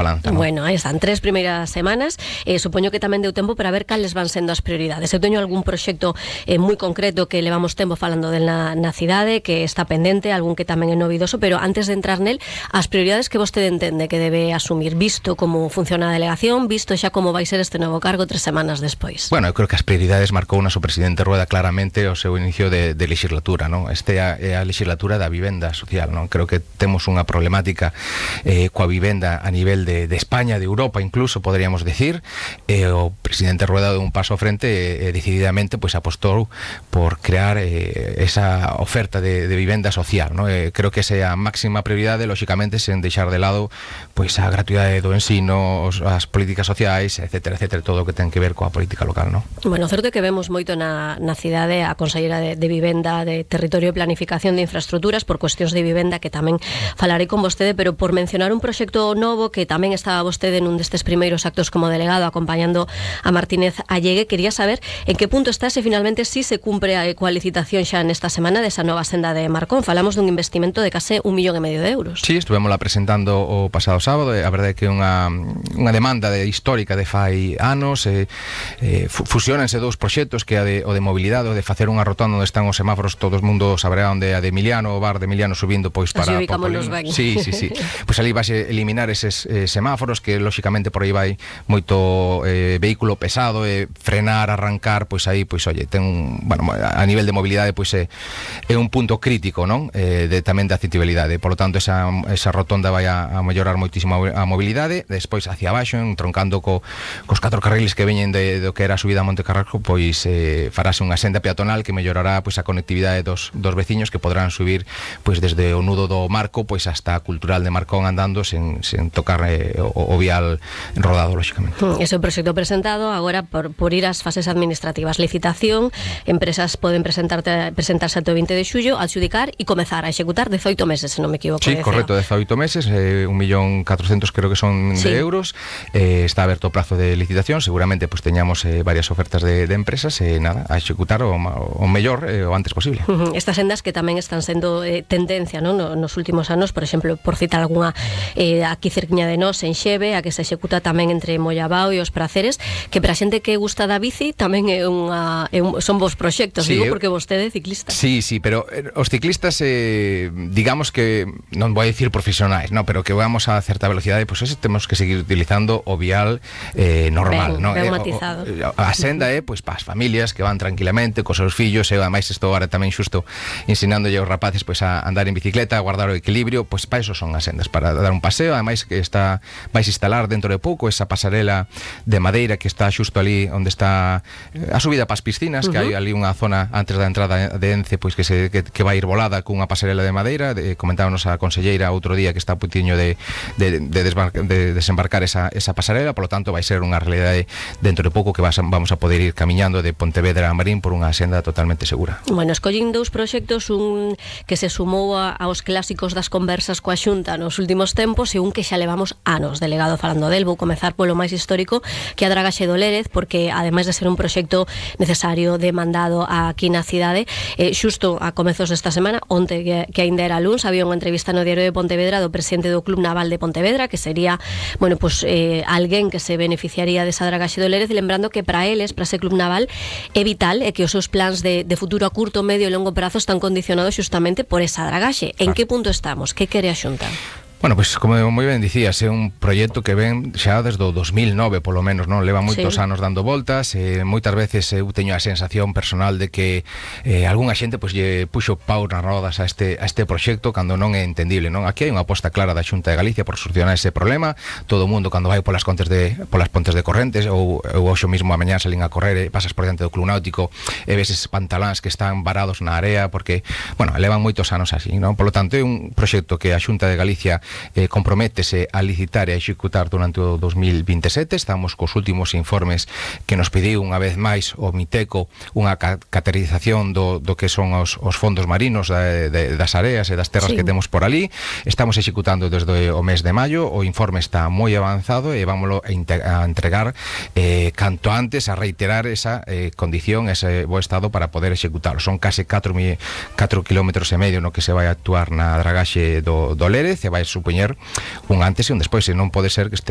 balanza, ¿no? Bueno, aí están 3 primeiras semanas. Supoño que tamén deu tempo para ver cales van sendo as prioridades. Eu teño algún proxecto moi concreto que levamos tempo falando na cidade, que está pendente, algún que tamén é novidoso, pero antes de entrar nel, as prioridades que vostede entende que debe asumir, visto como funciona a delegación, visto xa como vai ser este novo cargo 3 semanas despois. Bueno, eu creo que as prioridades marcou o noso presidente Rueda claramente o seu inicio de legislatura, non? Este é a legislatura da vivenda social, non? Creo que temos unha problemática coa vivenda a nivel de España, de Europa incluso, poderíamos decir. O presidente Rueda deu un paso ao frente e decididamente pois apostou por crear esa oferta de vivenda social, ¿no? Creo que esa é a máxima prioridade, lóxicamente sen deixar de lado pois a gratuidade do ensino, as políticas sociais, etcétera, etcétera, todo o que ten que ver coa política local, ¿no? Bueno, certo é que vemos moito na cidade a conselleira de Vivenda, de Territorio e Planificación de Infraestructuras por cuestións de vivenda, que tamén falarei con vostede, pero por mencionar un proxecto novo que tamén estaba vostede nun destes primeiros actos como delegado acompañando a Martínez Allegue, quería saber en que punto está, se finalmente si se cumpre coa licitación xa nesta semana desa nova senda de Marcón. Falamos dun investimento de case 1,5 millón de euros. Sí, estuvémola presentando o pasado sábado. A verdade é que é unha demanda histórica de fai anos. Fusionanse dous proxectos, que é o de mobilidade, o de facer unha rotonda onde están os semáforos, todo o mundo saberá onde é a de Emiliano, o bar de Emiliano subindo pois para Sí. Pois ali vais eliminar eses semáforos, que lóxicamente por aí vai moito vehículo pesado, frenar, arrancar, pois aí, pois oye, a nivel de mobilidade pois é un punto crítico, non? Tamén de accesibilidade. Por lo tanto, esa rotonda vai a mellorar moitísimo a mobilidade. Despois hacia abaixo, entroncando cos 4 carriles que veñen do que era a subida a Monte Carrasco, pois farase unha senda peatonal que mellorará pois a conectividade dos veciños, que poderán subir pois desde o nudo do Marco pois hasta a Cultural de Marcón andando sen tocar o vial rodado, lóxicamente. Ese é o proxecto presentado. Agora, por ir ás fases administrativas, licitación, empresas poden presentarse até o 20 de xullo, adxudicar e comezar a executar 18 meses, se non me equivoco. Sí, correcto, 18 meses, 1.400.000 creo que son de euros. Está aberto o prazo de licitación. Seguramente pues teñamos varias ofertas de empresas e nada, a executar o mellor o antes posible. Estas sendas que tamén están sendo tendencia, non? Nos últimos anos, por exemplo, por citar algunha aquí cerquiña de nós, en Xeve, a que se executa tamén entre Mollabao e os Praceres, que para a xente que gusta da bici tamén son vos proxectos, sí, digo, porque vostede é ciclista. Sí, pero os ciclistas, digamos que, non vou a dicir profesionais, no, pero que vamos a certa velocidade, pois ese temos que seguir utilizando o vial normal, ben matizado. A senda é pois para as familias que van tranquilamente cos seus fillos, e ademais estou agora tamén xusto ensinándolle aos rapaces pois a andar en bicicleta, a guardar o equilibrio, pois para eso son as sendas, para dar un paseo. Ademais que vais instalar dentro de pouco esa pasarela de madeira que está xusto ali onde está a subida para as piscinas, que hai ali unha zona antes da entrada de Ence, pois que vai ir volada cunha pasarela de madeira. Comentábamos a conselleira outro día que está a putiño de desembarcar esa pasarela, por lo tanto vai ser unha realidade dentro de pouco, que vamos a poder ir camiñando de Pontevedra a Marín por unha senda totalmente segura. Bueno, escollín dous proxectos, un que se sumou aos clásicos das conversas coa Xunta nos últimos tempos, e un que xa levamos anos delegado falando del. Vou comezar polo máis histórico, que é a dragaxe do Lérez, porque ademais de ser un proxecto necesario, demandado aquí na cidade, xusto a comezos desta semana, onte que aínda era luns, había unha entrevista no Diario de Pontevedra do presidente do Club Naval de Pontevedra, que sería, bueno, pues alguén que se beneficiaría desa dragaxe do Lérez, lembrando que para eles, para ese Club Naval, é vital e que os seus plans de futuro a curto, medio e longo prazo están condicionados xustamente por esa dragaxe. En que punto estamos? Que quere a Xunta? Bueno, pois como moi ben dicías, é un proxecto que ven xa desde o 2009, polo menos, non? Leva moitos anos dando voltas, moitas veces eu teño a sensación personal de que algunha xente pois lle puxo pau nas rodas a este proxecto cando non é entendible, non? Aquí hai unha aposta clara da Xunta de Galicia por solucionar ese problema. Todo o mundo cando vai polas pontes de Correntes, ou hoxe mesmo a mañá salín a correr e pasas por diante do Club Náutico e ves eses pantaláns que están varados na area porque, bueno, levan moitos anos así, non? Por lo tanto, é un proxecto que a Xunta de Galicia comprométese a licitar e a executar durante o 2027. Estamos cos últimos informes que nos pediu unha vez máis o Miteco, unha categorización do que son os fondos marinos das areas e das terras que temos por ali. Estamos executando desde o mes de maio. O informe está moi avanzado e vámoslo a entregar canto antes, a reiterar esa condición, ese bo estado para poder executarlo. Son case 4,5 kilómetros no que se vai actuar na dragaxe do Lérez, e vai supoñer un antes e un despois, e non pode ser que estemos